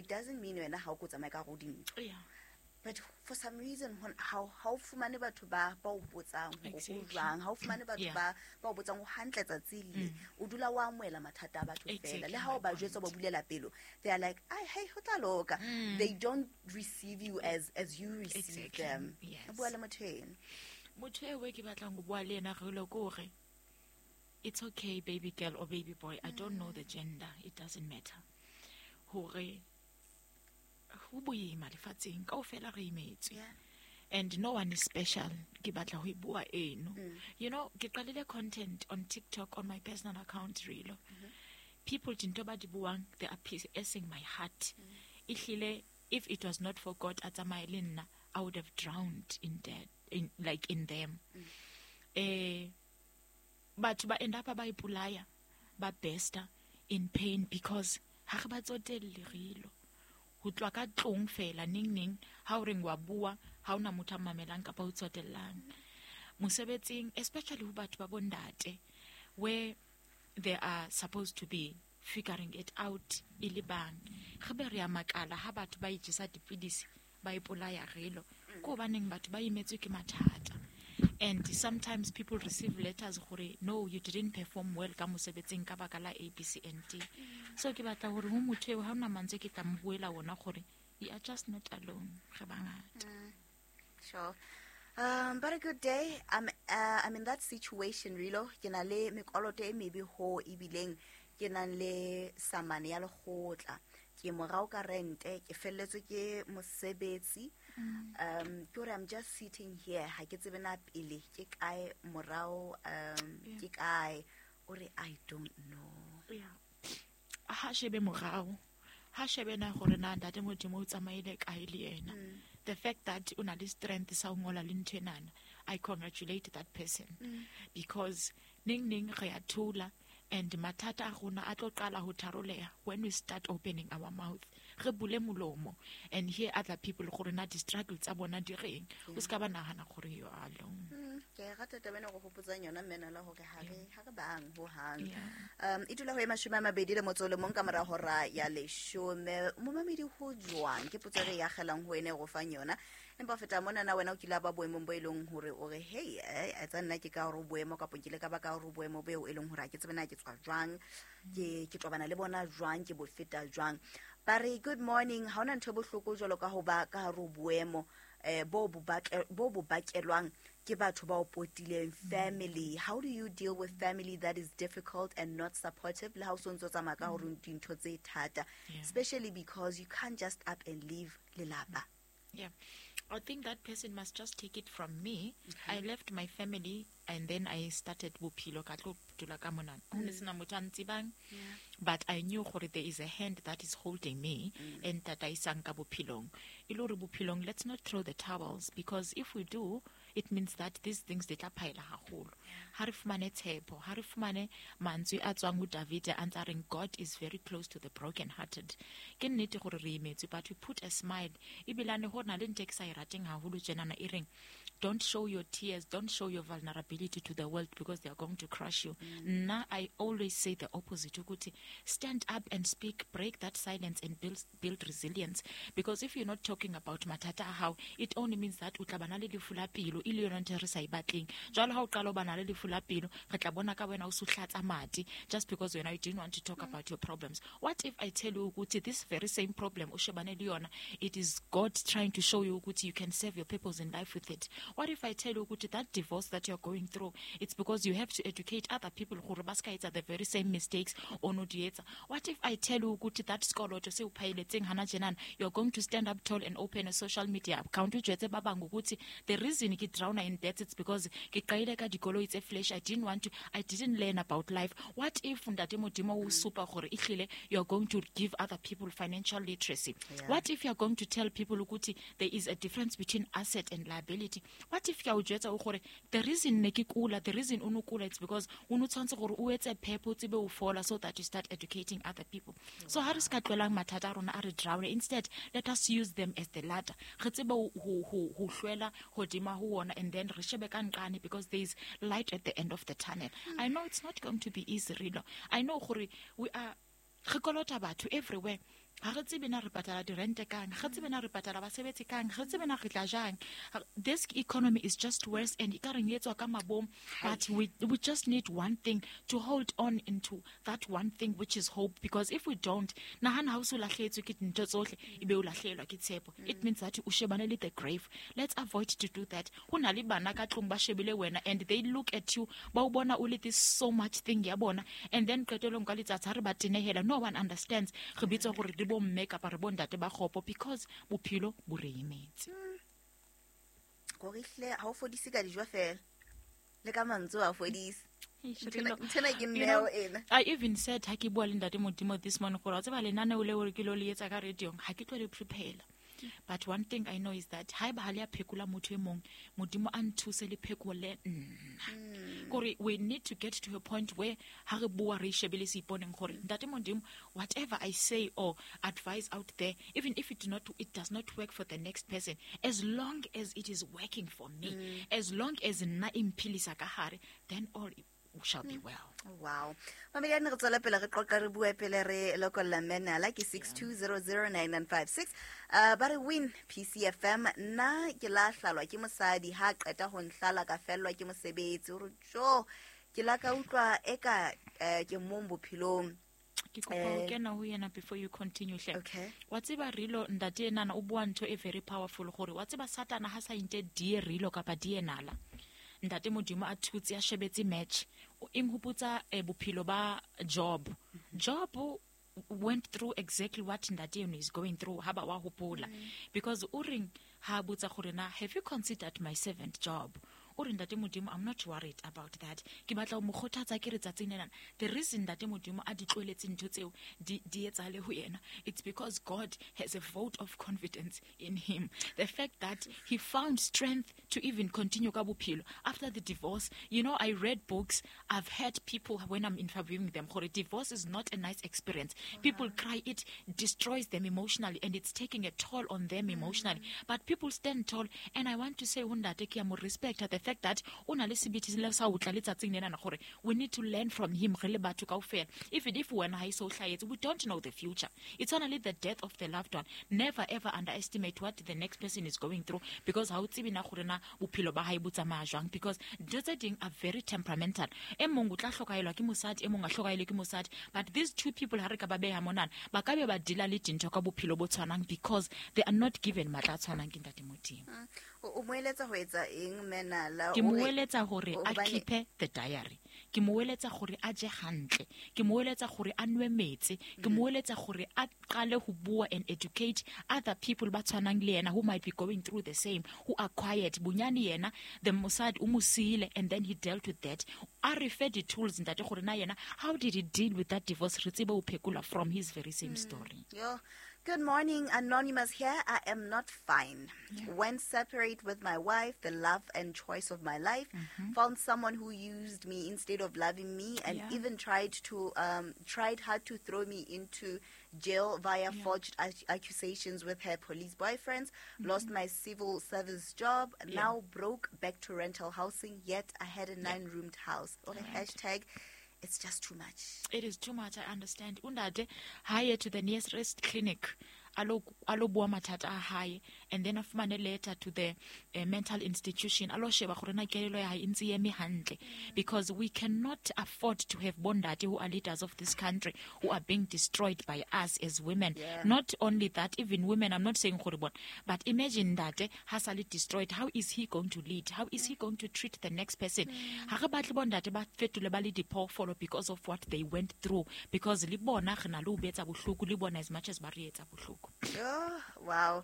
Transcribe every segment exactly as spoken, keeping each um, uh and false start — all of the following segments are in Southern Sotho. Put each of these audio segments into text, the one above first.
It doesn't mean wena ha o ko tsamaya ka hare ho dintho. Yeah. But for some reason, hon- ha ha o fumane batho ba ba o botsang hore ho Exactly. jwang, ha o fumane batho Yeah. ba ba o botsang ho hantle tsatsi le, o dula o amohela mathata a batho fela. Exactly Le ha o my ba jwetsa, o ba bulela pelo, they are like, ai, hey, ho tla loka. They don't receive you as as you receive Exactly. them. Yes. O bua le motho eno. Motho eo e ke batlang ho bua le ena re lo ke hore it's okay, baby girl or baby boy, I don't know the gender, it doesn't matter, hore ho boima lefatsheng kaofela re imetswe. Yeah. And no one is special. Ke batla ho e bua eno. You know, ke qalile content on TikTok on my personal account, Rilo. People, dintho ba di buang, they are piercing my heart. Ehlile, if it was not for God a tsamaye le nna, I would have drowned in dead, in like in them. Eh, batho ba end up ba ipolaya, ba besta in pain because ha re ba tsotelle, Rilo. Ho tloha ka tlong fela, neng neng ha o reng wa bua, ha ona motho a mamelang kapa o tsotellang. Mosebetsing, especially ho batho ba bondate, where they are supposed to be figuring it out e le bang, re be re a makala ha batho ba ijesa dipidisi, ba ipolaya, Rilo. Ke hobaneng batho ba imetswe ke mathata. And sometimes people receive letters gore no, you didn't perform well ka mosebetsing ka baka la A, B, C and D. So ke batla hore ho motho eo, ha hona mantswe ke tla mo buela wona, gore you are just not alone, re bangata. Sure. Um, but a good day. I'm uh, I'm in that situation, Rilo. Ke na le mekoloto e mebe ho ebileng ke nang le samane ya lekgotla. Ke morao ka rente, ke felletswe ke mosebetsi. Um, ke hore I'm just sitting here. Ha ke tsebe na pele ke kae, morao um Yeah. ke kae. O re, I don't know. Yeah. Ha shebe morao, ha shebe na gore na ntate Modimo o tsamaile kae le yena. The fact that o na le strength sa ho ngola le ntho enana, I congratulate that person, because neng neng re a thola and mathata a rona a tlo qala ho tharoleha when we start opening our mouth, re bule molomo and hear other people gore na di-struggle tsa bona di reng. O se ka ba nahana gore you are alone. Mm, ke a e rata taba ena go hopotsang yona, mmena, la hore ha re ha re bang hohang. Yeah. um e dula ho e mashome a mabedi le motso o le mong ka mora hora ya leshome. Momamedi, ho jwang? Ke potso e re e akgelang ho ene e go fang yona. Empa ho feta mona, na wena o kile a ba boemong bo e leng hore o re, hey, eh, etsa nna ke ka hore o boemo, kapa nkile ka ba ka hore o boemo beo e leng hore ha ke tsebe na ke tswa jwang, ke ke tobana le bona jwang, ke bo feta jwang? Ba re, good morning, ha hona ntho e bohloko jwalo ka ho ba ka hare ho boemo eh bo bo bake- bo bo bakelwang ke batho ba o potileng, family. How do you deal with family that is difficult and not supportive le ha o sontso tsamaya ka hore dintho tse thata, Yeah. especially because you can't just up and leave lelapa? Yeah. I think that person must just take it from me. I left my family and then I started bophelo, ka tlo dula ka monana. Ho ne sena motho a ntsebang, but I knew gore there is a hand that is holding me and tataisang ka bophelong. E le hore bophelong, let's not throw the towels, because if we do, it means that these things di tla phaela haholo. Ha re fumane tshepo, ha re fumane mantswe a tswang ho David a ntsa reng, God is very close to the broken hearted. Ke nnete gore re imetswe, but we put a smile. Ebilane ho na le ntho e ke sa e rateng haholo tjenana e reng, don't show your tears, don't show your vulnerability to the world because they are going to crush you. Nna, I always say the opposite, ukuthi stand up and speak, break that silence and build, build resilience, because if you're not talking about mathata a hao, it only means that o tla bana le lefu la pelo, e le yona ntho e re sa e batleng. Jwale ha o qala o bana le lefu la pelo, re tla bona ka wena o so hlatsa madi just because wena you didn't want to talk about your problems. What if I tell you ukuthi this very same problem o shebane le yona, it is God trying to show you ukuthi you can serve your purpose in life with it? What if I tell you ukuthi that divorce that you're going through, it's because you have to educate other people gore ba ska etsa the very same mistakes o no di etsa? What if I tell you ukuthi that sekoloto se o phaeletseng hana tjenana, you're going to stand up tall and open a social media account, o jwetse ba bang ukuthi the reason ke drown in debt, it's because ke qaile ka dikoloi tse flash, I didn't want to, I didn't learn about life? What if ntate Modimo o supa gore ehlile you're going to give other people financial literacy? Yeah. What if you're going to tell people ukuthi there is a difference between asset and liability? What if ke a o jwetsa o gore the reason ne ke kula, the reason o no kula, it's because o no tshwanetse gore o etse phepo, o tsebe o fola, so that you start educating other people? So ha re se ka tlohelang mathata a rona a re drown. Instead, let us use them as the ladder, re tsebe ho- ho ho- ho hlwela hodima ho ona and then re shebe ka nqane, because there is light at the end of the tunnel. I know it's not going to be easy, Rilo. I know gore we are, re kolota batho everywhere. Ha re tsebe na re patala dirente kang, ga tsebe na re patala basebetsi kang, ga tsebe na re tla jang. This economy is just worse and e ka reng e tswa ka mabom, but we, we just need one thing to hold on into that one thing, which is hope. Because if we don't, nahana ha o so lahlehetswe ke dintho tsohle, ebe o lahlehelwa ke tshepo. It means that o shebane le the grave. Let's avoid to do that. Ho na le bana ka tlung ba shebile wena and they look at you, ba o bona o le this so much thing ya bona, and then qetellong ka letsatsi ha re ba tenehela, no one understands. Re bitswa gore re bo mme kapa re bo ntate ba kgopo because bophelo bo re emetse. Gore ehlile ha o fodise ka dijo fela, le ka mantswe ha o fodise. Nthena ke neo ena. I even said ha ke bua le ntate Modimo this morning gore wa tseba lenaneo leo re ke lo le etsa ka radio-ong, ha ke tlo le prepare. But one thing I know is that haeba ha le a phekola motho e mong, Modimo a nthuse le phekole nna. Kore we need to get to a point where ha re bua re shebile seiponeng gore ntate Modimo, whatever I say or advise out there, even if it do not, it does not work for the next person, as long as it is working for me, mm. as long as nna e mphilisa ka hare, then all shall be well. Wow. Mamedi re tswela pele re qoqa re bua pele re lokolla menala ke six two zero zero nine nine five six. Uh, ba re win P C F M nna ke la hlalwa ke mosadi ha qeta ho nhlala ka fellwa ke mosebetsi o re jo ke la ka utlwa eka ke mong bophelong. Ke kopa ho kena ho yena before you continue hle. Okay. Wa tseba rilo ntate enana o bua ntho e very powerful gore wa tseba Satana ha sa inte die rilo kapa die nala. Ntate Modimo a thutse a shebetse match o inghopotsa bophelo ba Job. Job went through exactly what ntate is going through ha ba wa hopola, because o reng ha botsa gore na have you considered my servant Job? O re ntate Modimo, I'm not worried about that. Ke batla ho mo kgothatsa ke re tsatsing lena. The reason ntate Modimo a di tlohelletse ntho tseo di di etsahale ho yena, it's because God has a vote of confidence in him. The fact that he found strength to even continue ka bophelo after the divorce. You know, I read books, I've heard people when I'm interviewing them, gore divorce is not a nice experience. Uh-huh. People cry, it destroys them emotionally and it's taking a toll on them emotionally. Mm. But people stand tall, and I want to say ho ntate ke a mo respect the fact that o na le sebete le sa utla letsatsing lena na gore we need to learn from him re le batho kaofela. Even if wena ha iso hlahetse, we don't know the future. It's only the death of the loved one. Never ever underestimate what the next person is going through, because ha o tsebe na gore na bophelo ba hae bo tsamaya jwang, because dintho tse ding are very temperamental. E mong o tla hlokahelwa ke mosadi, e mong a hlokahelwe ke mosadi, but these two people ha re ka ba beha monana ba ka be ba deala le dintho ka bophelo bo tshwanang, because they are not given matla a tshwanang ke ntate Modimo. O mo eletsa ho etsa eng menala? Ke mo eletsa hore a keep the diary. Ke mo eletsa hore a je hantle. Ke mo eletsa hore a nwe metsi. Ke mo eletsa hore a qale ho bua and educate other people ba tshwanang le yena who might be going through the same, who are quiet. Bonyane yena the mosadi o mo siile and then he dealt with that. A re fe the tools ntate gore na yena how did he deal with that divorce, re tsebe ho phekola from his very same mm. story. Yo. Good morning, Anonymous here. I am not fine. Yeah. When separate with my wife, the love and choice of my life, mm-hmm. found someone who used me instead of loving me, and yeah. even tried to um, tried hard to throw me into jail via yeah. forged accusations with her police boyfriends. Mm-hmm. Lost my civil service job. Yeah. Now broke, back to rental housing. Yet I had a nine-roomed house. Or a right. hashtag. It's just too much. It is too much, I understand. Undade, hire to the nearest clinic. Alo alo bua mathata a hae, and then a fumane letter to the uh, mental institution. Alo sheba gore na kelelo ya hae e ntse eme hantle, because we cannot afford to have bondate who are leaders of this country who are being destroyed by us as women. Yeah. Not only that, even women, I'm not saying gore bona, but imagine that ha sa le destroyed, how is he going to lead? How is he going to treat the next person? Ha re batle bondate ba fetole ba le diphoofolo because of what they went through, because le bona re na le ho betsa bohloko le bona as much as ba re etsa bohloko. Oh, wow.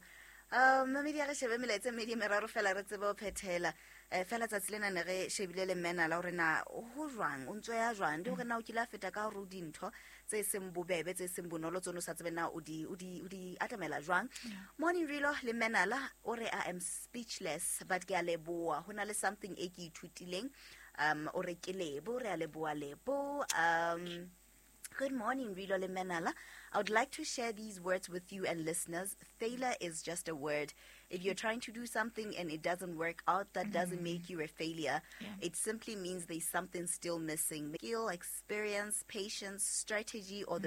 Um, mamedi a re shebe melaetsa e mmedi e meraro fela re tsebe ho phethela. Eh, fela tsatsi lena ne re shebile le mmena la hore na ho jwang, o ntso ya jwang, le hore na o kile a feta ka hore o dintho tse seng bobebe, tse seng bonolo tseno sa tsebe na o di o di o di atamela jwang. Morning Rilo le Menala o re I am speechless but ke a leboha. Ho na le something e ke ithutileng. Um, o re ke lebo, re a leboha lebo. Um, good morning, Rilo le Menala. I would like to share these words with you and listeners. Failure is just a word. If you're trying to do something and it doesn't work out, that mm-hmm. doesn't make you a failure. Yeah. It simply means there's something still missing. Skill, experience, patience, strategy, or the